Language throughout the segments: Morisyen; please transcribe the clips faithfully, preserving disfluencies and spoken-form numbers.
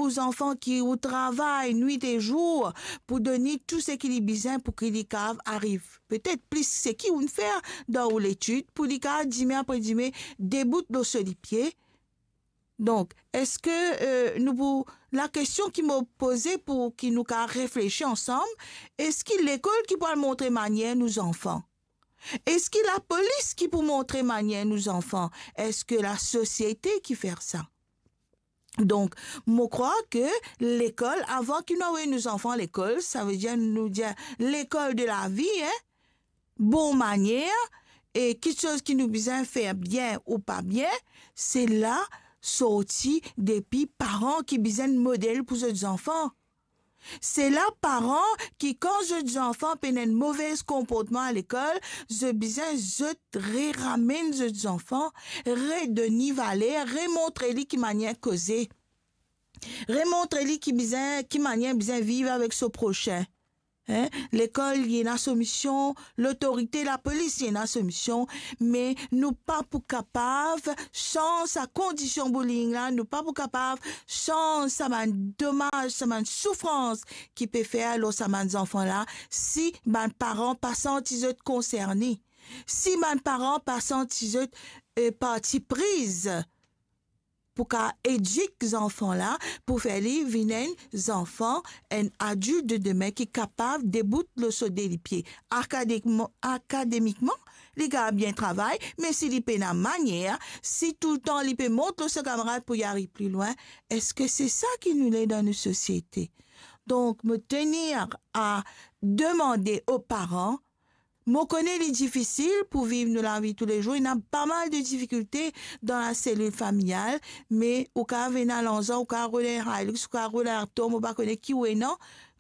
ou zanfan ki ou travay nwit e zour pou donn li tou seki li bizin pou ki li kav ariv petet plis seki ou'nn fer dan ou letid, pou li kav dime apre dime debout lor so lipie. Donk, eski, eh, nou pou, lakestion ki mo poze pou ki nou kav reflesi ansam, eski lekol ki pou al montre manier nou zanfan? Eski lapolis ki pou montre manier nou zanfan? Eski lasosiete ki fer sa? Donk, mo krwar ke lekol, avan ki nou avoy nou zanfan lekol, savedir nou dir lekol de lavi, en, bon manier, e kiksoz ki nou bizin fer bien ou pa bien, se la sorti depi paran ki bizin model pou zot zanfan. Se la paran ki, kan zot zanfan pena enn move konportman lekol, zot bizin zot reramenn zot zanfan, redonn li valer, remontre li ki manier koze, remontre li ki bizin, ki manier bizin viv avek so prosin. En, lekol, li ena so mision, lotorite, lapolis, li ena so mision, me nou pa pou kapav sanz sa kondision bullying la, nou pa pou kapav sanz sa bann domaz, sa bann soufrans ki pe fer lor sa bann zanfan la, si bann paran pa santi zot konserne, si bann paran pa santi zot, eh, parti priz pou kav edik zanfan la, pou fer li vinn enn zanfan, enn adilt de demin ki kapav debout lor so de lipie. Akademikman, akademikman, li kav bien travay, me si li pena manier, si toultan li pe mont lor so kamarad pou li ariv pli lwin, eski se sa ki nou le dan nou sosiete? Donk, mo tenir a demande o paran, mo kone li difisil pou viv nou lavi toulezour, ena pa mal de difikilte dan laselil familial, me ou kav ena larzan, ou kav rod enn Hilux, ou kav rod enn Alto, mo pa kone ki ou ena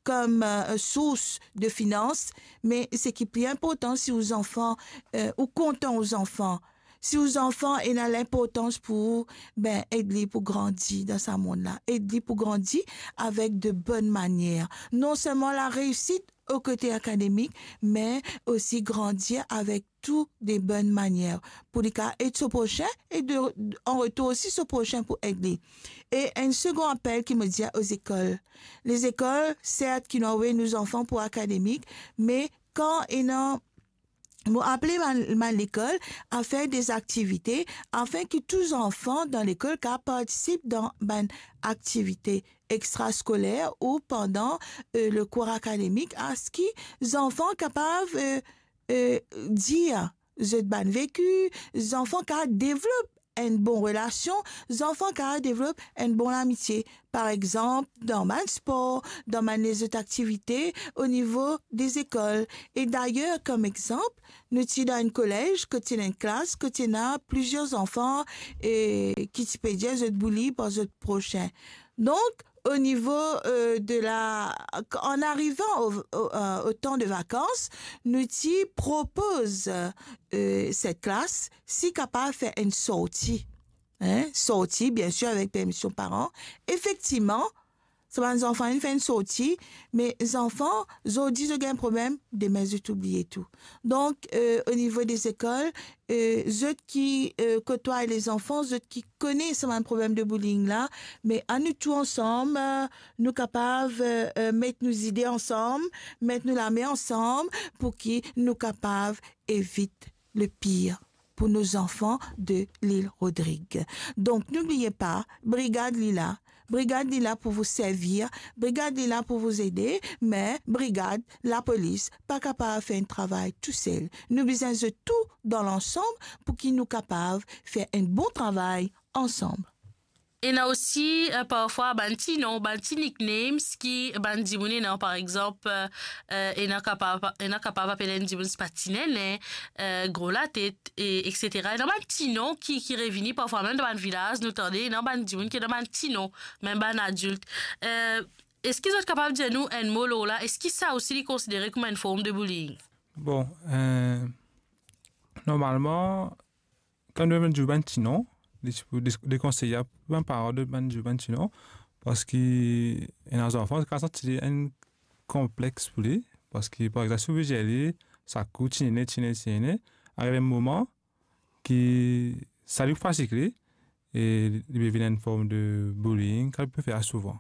kom, eh, sours de finans, me seki pli inportan, si ou zanfan, eh, ou kontan ou zanfan, si ou zanfan ena linportans pou ou, be, ed li pou grandi dan sa mond la, ed li pou grandi avek de bonn manier. Non selman lareisit o kote akademik, me osi grandi avek tou de bonn manier, pou li kav ed so prosin e de, an retour osi so prosin pou ed li. E enn segon apel ki mo dir o lekol. Lezekol, sert ki nou avoy nou zanfan pou akademik, me kan ena, mo apel bann, bann lekol a fer de aktivite, afin ki tou zanfan dan lekol kav partisip dan bann aktivite extraskoler ou pandan, eh, le kour akademik, aski zanfan kapav, eh, eh, dir zot bann veki, zanfan kav devlop enn bon relasion, zanfan kav devlop enn bon lamitie. Par exanp, dan bann spor, dan bann lezot aktivite o nivo de lekol. E dayer, kom exanp, nou ti dan enn kolez kot ti ena enn klas kot ti ena plizier zanfan, eh, ki ti pe dir zot bully par zot prosin. Donk, o nivo, eh, de la, an arivan o, o, eh, o tan de vakans, nou ti propoz, eh, set klas si kapav fer enn sorti. En, sorti, biensir, avek permision paran. Efektivman, sa bann zanfan inn fer enn sorti, me zanfan, zordi zot gagn problem, demin zot oubliye tou. Donk, eh, o nivo de lekol, eh, zot ki, eh, kotway lezanfan, zot ki kone sa bann problem de bullying la, me anou tou ansam, eh, nou kapav, eh, eh, met nou zide ansam, met nou lame ansam, pou ki nou kapav evit le pir pou nou zanfan de Lil Rodrig. Donk, n'oubliez pas, brigad li la, brigad li la pou vous servir, brigad li la pou vous aider, me brigad, lapolis, pa kapav fer enn travay tousel. Nou bizin zot tou dan lansam pou ki nou kapav fer enn bon travay ansam. Ena osi, eh, parfwa bann ti non, bann ti nicknames ki bann dimoun ena, par exanp, eh, eh, ena kapav, ena kapav apel enn dimoun Spatinene, eh, Gro Latet, e, et cetera. Ena bann ti non ki, ki revini parfwa, mem dan bann vilaz, nou tande, ena bann dimoun ki ena bann ti non, mem bann adilt. Eh, eski zot kapav dir nou enn mo lor la? Eski sa osi li konsidere kouma enn form de bullying? Bon, eh, normalman, kan nou dir bann ti non, li ti pou de-, dekonseye pou bann paran de bann dir bann ti non, parski ena zanfan ki kav santi li enn konplex pou li, parski, par exanp, si ou pe dir li, sa kou, tinene, tinene, tinene, ariv enn moman ki sa li fatig li, e li pe vinn enn form de bullying, kan li pe fer souvan.